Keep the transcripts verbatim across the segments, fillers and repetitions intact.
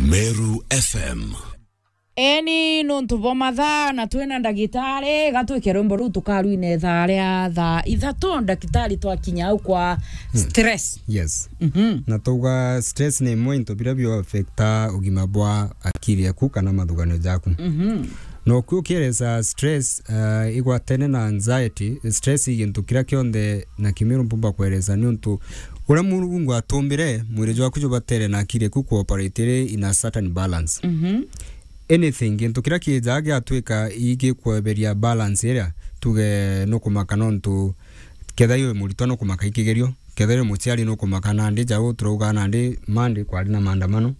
Meru F M. Eni nontu bwa mathaa na twina ndagitari, gatwike rwimbo ruu tukarwina ithaa ria thaa ithatu, ndagitari, twakinya au kwa stress. Yes. Mhm. Na twauga stress ni imwe into biria bio affecta ugima bwa akiri yaku kana mathugano jaku. Mhm. Na ukiukieleza stress, uh, igwatene na anxiety. Stress i gintu kiria kionthe na kimiru mpumba kueleza, niuntu uria Murungu atumbire, mwiri jwaku jubatere na akiri yaku kuoperate iri in a certain balance. Mhm. Anything, gintu kiria kiijaa giatwika igikweberia balance iria, tuge nukumaka nontu kethira iwe muritwa nukumaka ikigerio, kethira iwe muciari nukumaka nandi jau turauga nandi Monday kwari na maandamano.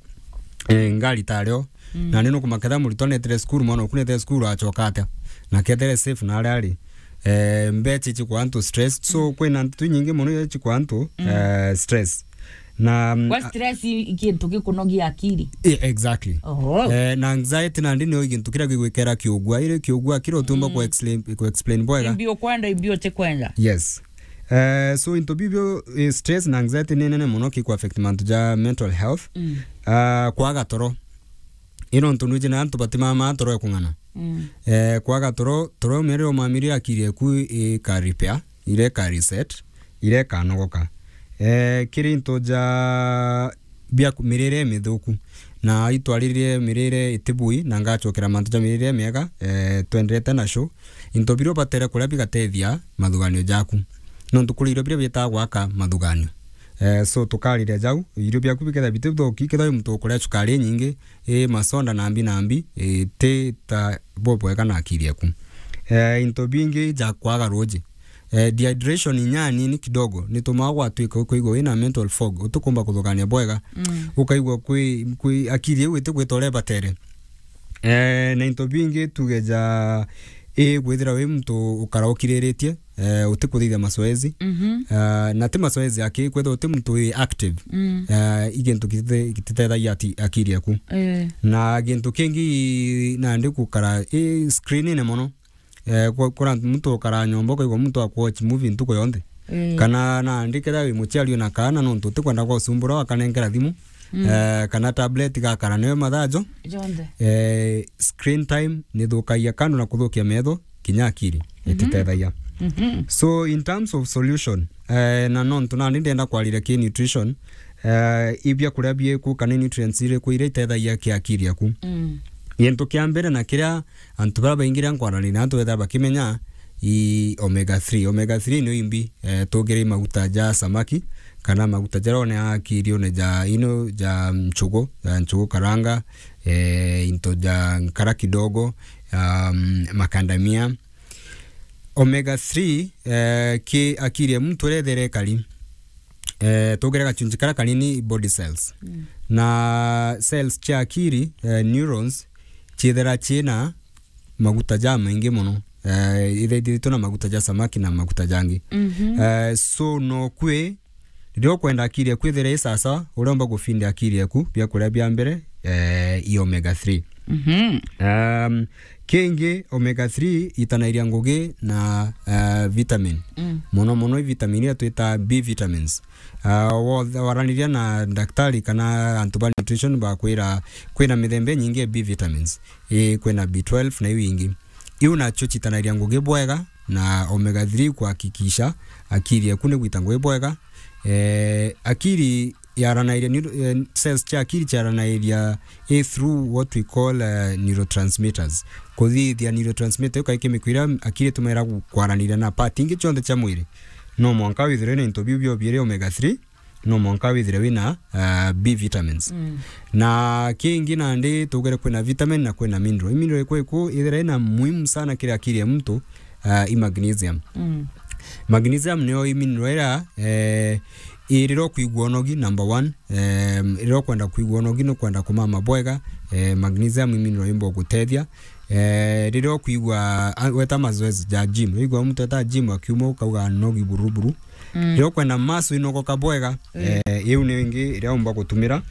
Eh, ngari tario, mm, nandi nukumaka kethira muritwa netire cukuru, mwana oku netire cukuru acoka atia? Na kethire safe na aria ari. Eh, mbecha ichikwa antu stress. So, mm, kwina ntu nyingi muno iria ichikwa antu, mm, eh, stress. Na, mm, kwa a- stress i-, i kintu gikunogia akiri. E-, exactly. Oho. Eh, na anxiety nandi nio gintu kiria gigwikera kiugua. Iri kiugua kira utiumba, mm, ku explain, ku explain bwega. Imbi ukwenda, imbi utikwenda. Yes. Eh, so into bibio, eh, stress na anxiety ni nene muno kiku affect mantu ja mental health. Mm. Ah, kwaga toro. Ino ntu nwiji na antu batimama toro ekung'ana. Mm. Eh, kwaga toro, toro mere umamiri akiri eku ika repair, ireka reset, ireka nogoka. Eh, kiri into ja bia ku-, mirire mithuku. Na itwariririe mirire itibui, na ngachokera mantu ja mirire miega, eh, twenderete na show. Into biria ubatere kuria bigatethia mathuganio jaku. Nontu kuri irio biria bitaa gwaka mathuganio. Eh, so tukariria jau, irio biaku bikethia bitithuki, kethia wi muntu ukuria cukari inyingi, i masonda nambi nambi, i ti ta bubwega na akiri eku. Eh, into bingi ja kwaga ruji. Eh, dehydration inya nini kidogo, nitumaa gwatwika ukaigua wina mental fog, utikumba kuthugania bwega, mm, ukaigua kwi, kwi akiri iu itikwita uria ibatere. Eh, na into bingi tuge ja, i gwithira wi muntu ukara ukiriritie, eh, utikuthithia mazoezi. Mhm. Ah, na ti mazoezi aki, kwethira uti muntu wi active. Mm. Ah, i gintu gitite-, gititethagia ati-, akiri eku. Eh. Na gintu kingi nandi gukara i screenine mono. Eh, kwa, kura muntu ukara nyomba ukaigua muntu aku watch movie ntuku yonthe. Eh. Kana nandi kethira wi muciari wina kaana nontu utikwenda gwa usumbura wakanengera thimu. Mm. Eh, kana tablet gakara nayo mathaa jo. Jonthe. Eh, screen time nithukagia kando na kuthukia metho, kinya akiri, mhm, ititethagia. Mhm. So, in terms of solution, eh, na nontu nandi ndenda kwariria ki nutrition, eh, i biakuria bieku kana nutrients iriku iria itethagia ki akiri yaku. Mm. Gintu kia mbere na kiria antu baria baingi riria nkwaraniria na antu bethira bakimenya i omega three. Omega three nio imbi, eh, tugire maguta ja samaki, kana maguta jaria one akirione ja ino ja nchugu, ja nchugu karanga, eh, into ja nkara kidogo, um, makandamia. Omega three, eh, ki akiri ya muntu iria ithera ikari, eh, tugire gachunji karia kanini body cells. Mm. Na cells cia akiri, eh, neurons, ciithira ciina maguta jamaingi mono. Eh, ithaithiritwe na maguta ja samaki na maguta jangi. Mhm. Eh, so no kwi, riria ukwenda akiri yaku ithire i sawasawa, uria umba gufeed akiri yaku biakuria bia mbere, eh, i omega three. Mhm. Um, kingi, omega three itanairia ngugi na, eh, vitamin. Mm. Mono mono i vitamin iria twita B vitamins. Ah, wa-, waraniria na daktari kana antu ba nutrition bakwira kwina mithemba inyingi ya B vitamins. Ii, kwina B twelve na iu ingi. Iu nacio citanagia ngugi bwega na omega three kuhakikisha akiri eku ni gwita ngugi bwega. Eh, akiri yaranairia ni, eh, cells cia akiri ciaranairia i through what we call, eh, neurotransmitters. Kuthithia neurotransmitter iu kai chemical iria akiri itumagira gu-, kwaraniria na part ingi cionthe cia mwiri. No mwanka withirwe na into biu biobiiri omega three, no mwanka withire wina, ah, B vitamins. Mm. Na kingi nandi tugere kwina vitamin na kwina mineral. I mineral iku iku ithira ina muhimu sana kiri akiri ya muntu, ah, i magnesium. Mm. Magnesium niyo i mineral ira, eh, i riria ukwigua unogi, number one. Em, riria ukwenda kwigua unogi, nukwenda kumama bwega, eh, magnesium i mineral imba gutethia. Eh, riria ukwigua, ah, weta mazoezi ja gym, wigua muntu eta gym akiuma ukauga nogi buruburu. Mm. Riria ukwenda muscle inogoka bwega, mm, eh, iu ni ingi iria umba gutumira.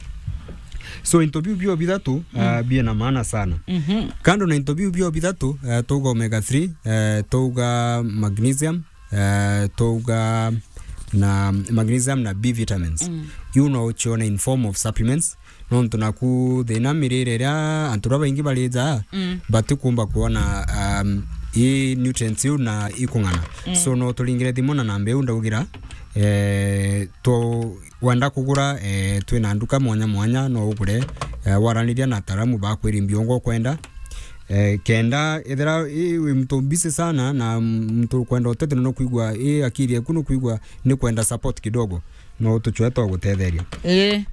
So, into biu bio bithatu, ah, mm, biena maana sana. Mhm. Kando na into biu bio bithatu, eh, tuga omega three, eh, tuga magnesium, eh, tuga na magnesium na B vitamins. Mm. Iu no ucione in form of supplements. Nontu naku thina mirire iria antu baria baingi barija, mm, batikumba kwona, um, i nutrients iu na ikung'ana. Mm. So no turingire thimu na namba iu ndaugira, eh, tu, wenda kugura, eh, twina nduka mwanya mwanya, no ugure, eh, waraniria na ataaramu bakwiri mbiungo ukwenda. Eh, kenda ethira i wi muntu busy sana na muntu ukwenda utethio no kwigua i akiri eku no kwigua ni kwenda support kidogo, no tuchwe twa gutetheria. Ii.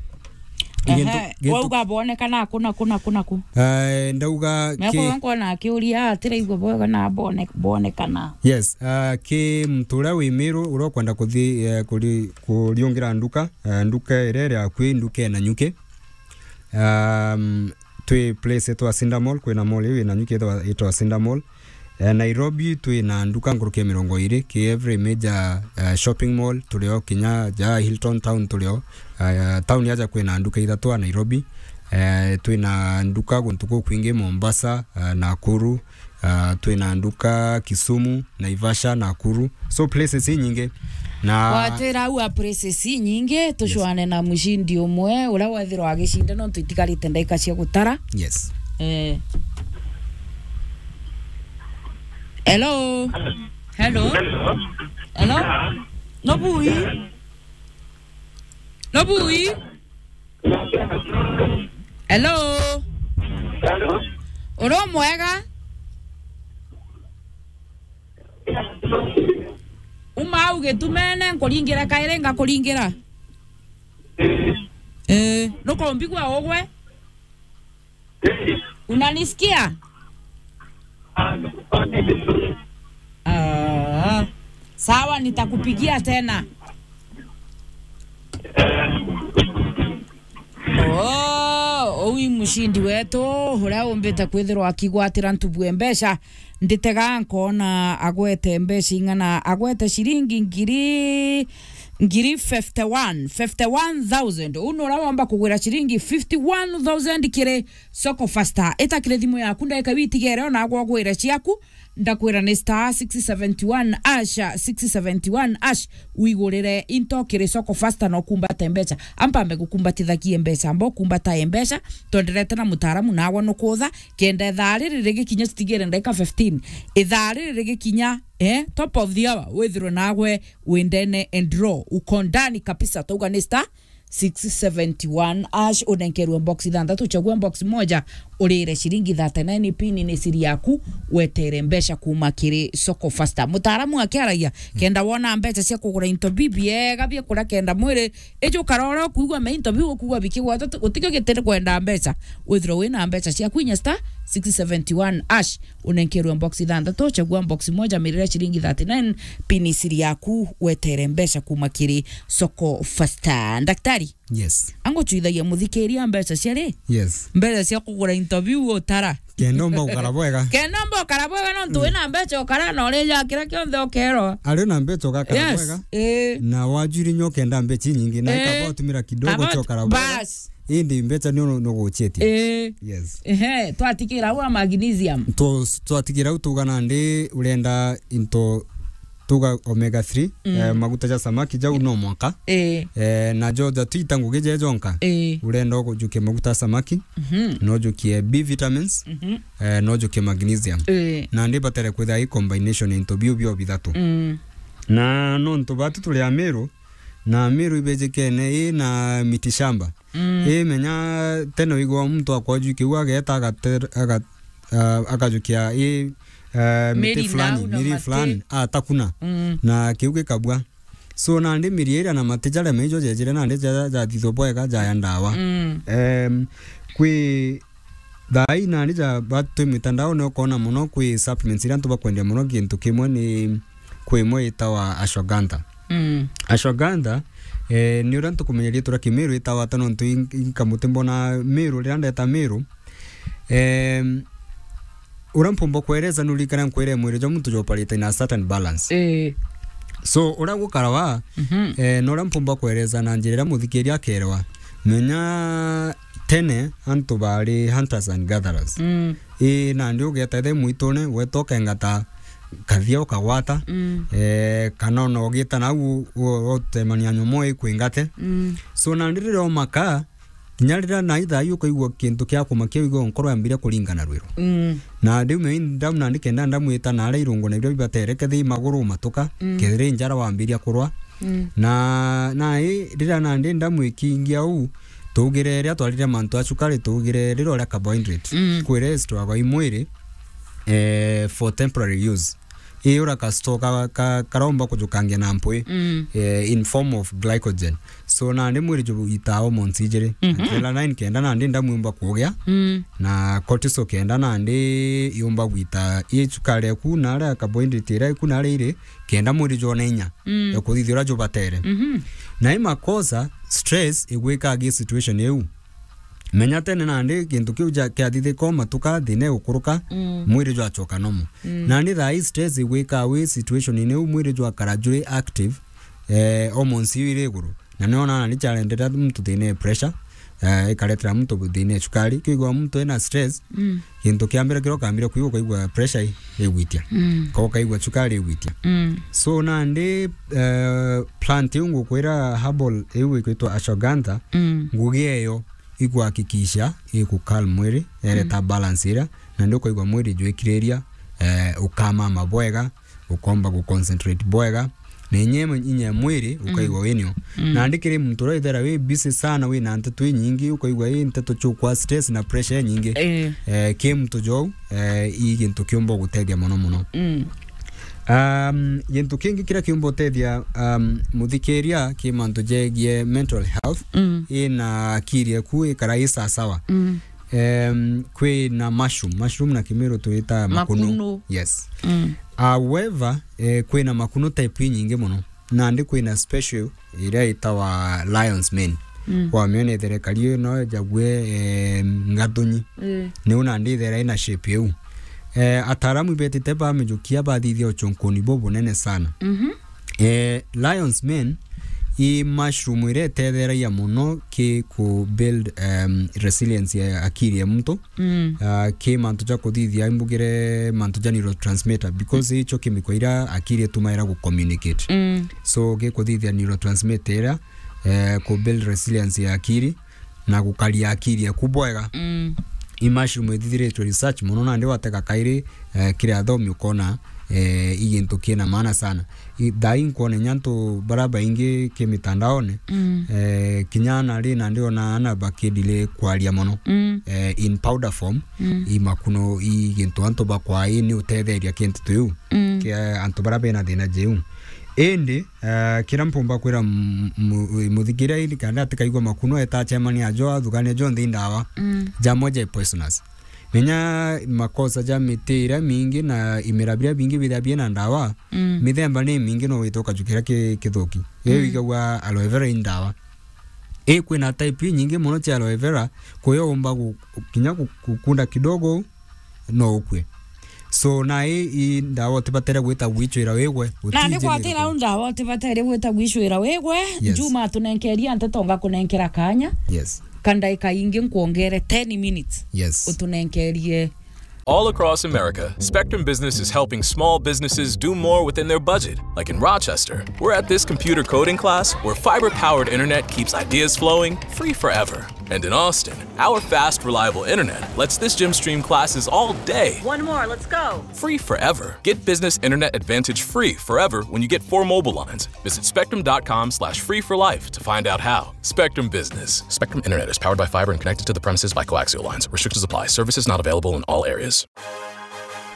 Gintu, ehe, gintu wauga bonekana ku, na ku, na ku, na ku. Eh, ndauga ki- Meko nkona akiuria atiraigua bwega na bone-, bonekana. Yes, ah, ki muntu uria wi Miru uria ukwenda kuthi, eh, kuri-, kuriungira nduka, eh, nduka iria iri akui, nduka ina nyuki. Um, twi place itwa Cinda Mall, kwina mall iu ina nyuki itwa, itwa Cinda Mall. Eh, Nairobi twina nduka nkuruki ya mirongo iri, ki every major, eh, shopping mall turio, kinya ja Hilton Town turio. Eh, town yaja kwina nduka ithatu a Nairobi. Eh, twina nduka guntu gukwingi, Mombasa, eh, Nakuru, ah, twina nduka Kisumu, Naivasha, Nakuru. So places inyingi. Na watwira au a places inyingi, tucwane na mucindi umwe, uria wethirwa agicinda, nontu itigarite ndaika cia gutara. Yes. Eh. Hello? Hello? Hello? No bui? No bui? Hello? Hello? Uri mwega? Uma au gitumene, nkuringira kairi, ngakuringira. Eh, nukumbigua ugwe? Unanisikia? Ah, sawa, nitakupigia tena. Oh, uu i mucindi wetu, uria umbite kwithirwa akigwatira ntubu e mbeca. Nditega nkona agwete mbeca ing'ana, agwete ciringi ngiri, ngiri fifty one, fifty one thousand. Uu ni uria womba kugwira ciringi fifty one thousand kiri Soko Fasta. Ita kiri thimu yaku, ndagika iu itigere, ona agwe ugwire ciaku. Ndakwira ni star six seventy one hash, six seventy one hash, wigurire into kiri Soko Fasta na ukumbate mbeca. Ampambe gukumbatithagie mbeca, amba ukumbatae mbeca, twenderete na mutaaramu nawe nukutha, kenda ithaa riri rigikinya, citigire ndagika fifteen. Ithaa riri rigikinya, eh, top of the hour, withirwe nawe wi ndene and raw, uko ndani kabisa, twauga ni star six seventy one hash, unenkerwe box ithanthatu, chagua box moja, urire ciringi thirty nine, pin ni siri yaku, wetere mbeca kuma kiri Soko Fasta. Mutaaramu akiaragia, kenda wona mbeca cia kugura into bibiega bia kuria kenda mwiri, ijo karoro kuigua me into biu kuigua bikigwata, utikio gitiri kwenda mbeca. Withirwe wina mbeca ciaku, inya star six seventy one hash, unenkerwe box ithanthatu, chagua box moja, mirire ciringi thirty nine, pin siri yaku, wetere mbeca kuma kiri Soko Fasta. Daktari, yes, anguchwithagia muthikiria mbeca cia ri? Yes. Mbeca cia kugura into biu utara. Kenda umba gukara bwega. Kenda umba ukara bwega, nontu wina mbeca ukara na urija kira kionthe ukerwa. Ari na mbeca ugakara bwega. Yes, eh. Na wajuri nyo kenda mbeca inyingi, na ikaba utumira kidogo cia ukara bwega. Bas. Indi mbeca nio nuguchitie. Eh. Yes. Ehe, twatikira au a magnesium. Tu-, twatikira au tuga nandi urenda into tuga omega three, mm, eh, maguta ja samaki jau no mwaka. Eh. Eh, na jo ja twita ngugi je jonka. Eh. Urenda ujukie maguta ja samaki, mhm, no ujukie B vitamins, mhm, eh, no ujukie magnesium. Eh. Nandi batere kwithira i combination into biu bio bithatu. Mm. Na nontu batu turi Amiru, na Amiru ibejikene i na miti shamba. Mm. I menya tene wigua muntu akoju kiu ageta agate-, aga-, ah, akajukia i, eh, miti fulani, miri fulani, atakuna. Mm. Na kiu gikabua. So nandi miri iria na mati jaria maijo jejire nandi ja-, jathithwa bwega jaya ndawa. Mm. Em, kwi thaa ii nandi ja ba-, twi mitandaone ukona muno kwi supplements iria antu bakwendia muno gintu kimwe ni kwi imwe itawa ashwagandha. Mm. Ashwagandha, eh, ni uria ntukumenyeria tura Kimiru itawa ata nontu in-, inkamuti mbona Miru, riria ndeta Miru, em, uria mpumba kwereza nuririkana nkwire mwiri jwa muntu jwoparite in a certain balance. Eh. So, uria gukarawa, mhm, eh, na uria mpumba kwereza na njira iria muthikiria akerewa, menya tene antu bari hunters and gatherers. Mm. Ii, nandi ugeta ithe mwitune, weta ukengata kathia ukagwata, mm, eh, kana ona ugita nau u-, u-, utemania nyomo ikwingate. Mm. So, nandi riria umaka, Kinya riria na ithaa iu ukaigua kintu kia kumakia, uigua nkoro yambiria kuringana rwiro. Mm. Na ndiume ndamu nandi kenda ndamwita na aria irungu na biria bibatere, kethira i maguru umatuka, mm, kethira i njara wambiria kurwa. Mm. Na, na i, riria nandi ndamwikingia uu, tugire riria twarire mantu a cukari, tugire riria uria carbohydrate. Mm. Kwi rest wagwa i mwiri, eh, for temporary use. Ii uria ka store ka, ka, karaumba kujukangia na mpwi, mm, eh, in form of glycogen. So nandi mwiri juitaa hormones ijiri. Mhm. Adrenaline kenda nandi ndamu yumba kugia, mm, na cortisol kenda nandi yumba gwita ii cukari eku na aria carbohydrate iria iku na aria iri, kenda mwiri jwone inya, mm, ya kuthithia uria jubatere. Mhm. Na i makosa, stress igwika agi situation iu. Menya tene nandi gintu kiu ja-, kiathithika umatuka, thina igukuruka, mm, mwiri jwachoka normal. Mm. Nandi thaa ii stress igwika wi situation-ini iu, mwiri jwakara juri active, eh, hormones iu iri iguru. Na niona nandi charendera muntu thina e pressure, eh, ikaretera muntu thina e cukari. Kwigua muntu ena stress, mm, gintu kia mbere kiria ukambire kwigua, ukaigua pressure i-, igwitia. Mm. Ka ukaigua cukari igwitia. Mm. So nandi, eh, plant iu ngukwira herbal iu ikwitwa ashwagandha, mm, ngugi eyo ikuhakikisha iku calm mwiri, ereta, mm, balance iria, na ndio ukaigua mwiri jwikiriria, eh, ukamama bwega, ukomba gu concentrate bwega, na inya imwe inya ya mwiri, mm, ukaigua winio. Mm. Na ndi kiri muntu uria ithera wi busy sana, wina nteto inyingi, ukaigua i nteto chukwa stress na pressure nyingi. Eh. Eh, ki muntu jou, eh, i gintu kiumba gutethia mono mono. Mm. Um, gintu kingi kiria kiumba utethia, um, muthikiria ki mantu jegie mental health, mm, ina akiri eku ikara i sasawa. Mm. Em, kwi na mushroom. Mushroom na Kimiru twita makunu. Makunu. Yes. Mm. However, eh, kwi na makunu type inyingi mono. Nandi kwi na special iria itawa Lion's Mane. Mm. Wamiona itherekari ino jague, em, ngathunyi. Mm. Niu nandi ithera ina shape iu. Eh, ataaramu ibetite bamijukia bathithia uchunkuni bubunene sana. Mhm. Eh, Lion's Mane i mushroom iria itetheragia mono ki ku build, um, resilience ya akiri ya muntu. Mm. Ah, ki mantu ja kuthithia imbugire mantu ja neurotransmitter, because icho chemical iria akiri itumaira gu communicate. Mm. So, gi kuthithia neurotransmitter iria, eh, ku build resilience ya akiri. Na gukaria akiri eku bwega. Mm. I mushroom ithithiritwe research mono, nandi watega kairi, eh, kiri athomi ukona, eh, i gintu kina maana sana. I, thaa ii nkwona inya antu bara baingi ki mitandaone, mm, eh, kinya ana ri nandi ona ana bakidile kwaria mono. Mm. Eh, in powder form, mm, i makuno i gintu antu bakwa i ni utetheria kintu tu iu. Mm. Kia antu bara bena thina jiu. Indi, eh, kira mpumba kwira m-, mu-, muthikiria indi kana atikaigua makuno eta achemania ajo athugania jonthe i ndawa. Mm. Jamwe ja poisonous. Menya makosa ja miti iria mingi na imera biria bingi bithia biena ndawa, mm, mithemba ni mingi no wite ukajukira ki-, kithuki. Iyo, mm, igagua aloe vera i ndawa. I kwina type inyingi mono cia aloe vera, kuyo umba gu-, kinya gu-, gukunda kidogo, no ukue. So, na i, i ndawa utibatere gwita gwicwira wigwe, nandi utijinire kwatira ku- u ndawa utibatere gwita gwicwira wigwe. Yes. Juma atunenkeria nteto ngakunenkera kanya. Yes. Ka ndaika ingi nkwongere ten minutes. Yes. Utunenkerie. All across America, Spectrum Business is helping small businesses do more within their budget. Like in Rochester, we're at this computer coding class where fiber powered internet keeps ideas flowing free forever. And in Austin, our fast, reliable internet lets this gym stream classes all day. One more, let's go. Free forever. Get business internet advantage free forever when you get four mobile lines. Visit spectrum dot com slash free for life to find out how. Spectrum Business. Spectrum Internet is powered by fiber and connected to the premises by coaxial lines. Restrictions apply. Services not available in all areas.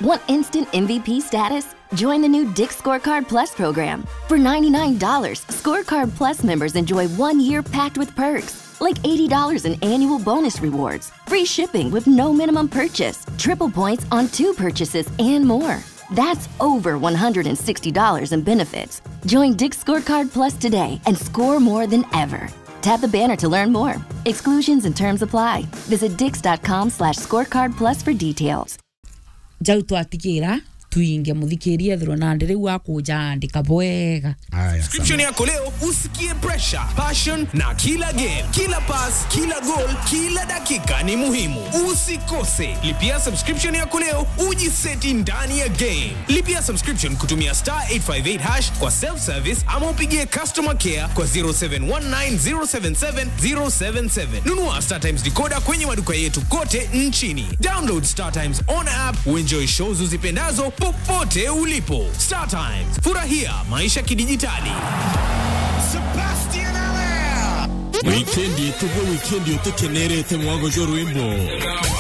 Want instant M V P status? Join the new Dick's Scorecard Plus program. For ninety-nine dollars, Scorecard Plus members enjoy one year packed with perks, like eighty dollars in annual bonus rewards, free shipping with no minimum purchase, triple points on two purchases, and more. That's over one hundred sixty dollars in benefits. Join Dick's Scorecard Plus today and score more than ever. Tap the banner to learn more. Exclusions and terms apply. Visit dix dot com slash scorecard plus for details. Jau twatigira twinge muthikiria ethirwe nandi riu akujaandika bwega. Aya, subscription sawa. Yako leo, usikie pressure, passion na kila game, kila pass, kila goal, kila dakika ni muhimu. Usikose. Lipia subscription yako leo, ujiseti ndani ya game. Lipia subscription kutumia star eight five eight hash kwa self service ama upigie customer care kwa zero seven one nine zero seven seven zero seven seven. Nunua StarTimes decoder kwenye maduka yetu kote nchini. Download StarTimes on app, uenjoy shows uzipendazo popote ulipo. StarTimes, furahia maisha kidijitali. Sebastian Allaire. Wikendi ituge wikendi utikenerete mwago jwa rwimbo.